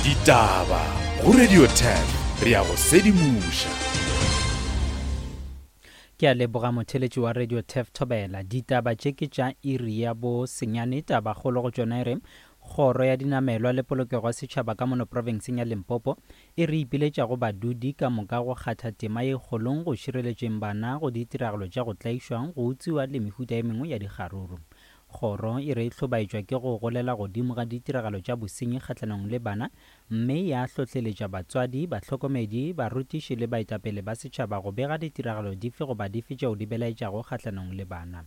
Ditaba go Radio 10 re a go sedimoša. Ke a leboga motheletši wa Radio Tef Thobela. Ditaba tše ke tša iri ya bo senyane. Tabakgolo go tšona e re, Kgoro ya Dinamelwa le Polokego ya Setšhaba ka mono profenseng ya Limpopo e re ipiletša go badudi ka moka go kgatha tema ye kgolong go šireletšeng bana go ditiragalo tša go tlaišwa, go utswiwa le mehuta e mengwe ya dikgaruru. Kgoro e re e hlobaetšwa ke go golela godimo ga ditiragalo tša bosenyi kgahlanong le bana mme ya hlohleletša batswadi, bahlokomedi, barutiši le baetapele ba setšhaba go bega ditiragalo dife goba dife tšeo di belaetšago kgahlanong le bana.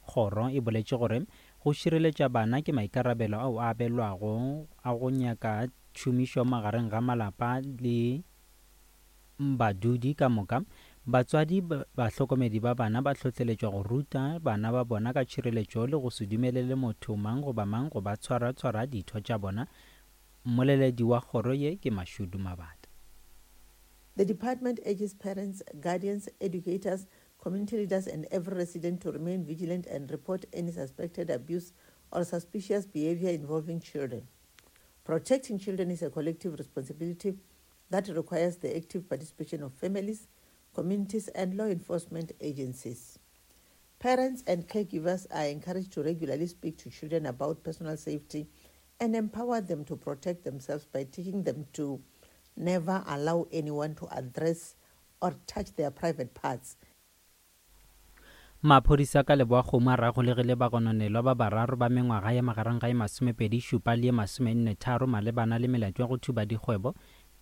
Kgoro e boletše gore go šireletša bana ke maikarabelo ao a abelwago a go nyaka tšhomišo magareng ga malapa le Badudi ka moka, batswadi, bahlokomedi ba bana ba hlohleletšwa go ruta bana ba bona ka tšhireletšo le go se dumelele motho mang goba mang go ba tshwara-tshwara ditho tša bona. Mmoleledi wa kgoro ye ke Mashudu Mabata. The department urges parents, guardians, educators, community leaders and every resident to remain vigilant and report any suspected abuse or suspicious behavior involving children. Protecting children is a collective responsibility that requires the active participation of families, communities, and law enforcement agencies. Parents and caregivers are encouraged to regularly speak to children about personal safety and empower them to protect themselves by teaching them to never allow anyone to address or touch their private parts. Maphodisa ka Leboakgomo a ragolegile bagononelwa ba bararo ba mengwaga ya magareng ga ye masomepedi šupa le ye masomenne tharo malebana le melato ya go thuba dikgwebo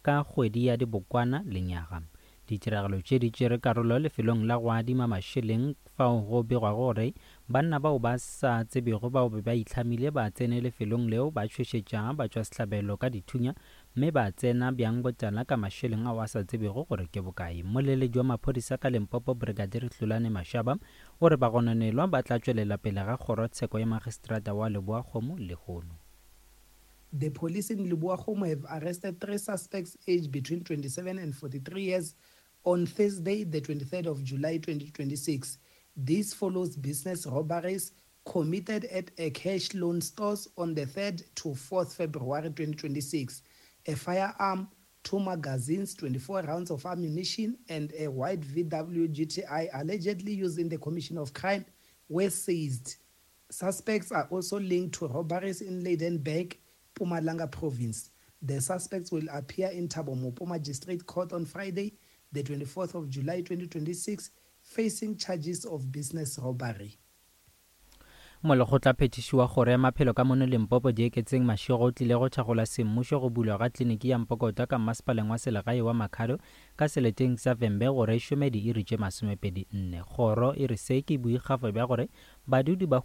ka kgwedi ya Dibokwana lenyaga. Ditiragalo tše di tšere karolo lefelong la go adima mašeleng fao go begwago gore banna bao ba sa tsebego bao be ba itlhamile ba tsene lefelong leo ba tšhošetša batšwasehlabelo ka dithunya mme ba tsena bjang botala ka mašeleng ao a sa tsebego gore ke bokae. Mmoleledi wa maphodisa ka Limpopo, Brigadier Hlulani Mashaba, o re bagononelwa ba tla tšwelela pele ga kgorotsheko ya magistrata wa Leboakgomo lehono. The police in Leboakgomo have arrested three suspects aged between 27 and 43 years on Thursday, the 23rd of July 2026. This follows business robberies committed at a cash loan stores on the 3rd to 4th February 2026. A firearm, two magazines, 24 rounds of ammunition, and a white VW GTI allegedly used in the commission of crime were seized. Suspects are also linked to robberies in Lydenburg, Mpumalanga province. The suspects will appear in Thabo Mopo Magistrate Court on Friday, the 24th of July 2026, facing charges of business robbery. Molekgotlaphethiši wa Kgoro ya Maphelo ka mono Limpopo Dieketseng Mashego o tlile go thakgola semmušo go bulwa ga kliniki ya Mpokota ka mmasepaleng wa selegae wa Makhado ka seleteng sa Vhembe gore e šome diiri tše masomepedi nne. Kgoro e re se ke boikgafo bja gore badudi ba.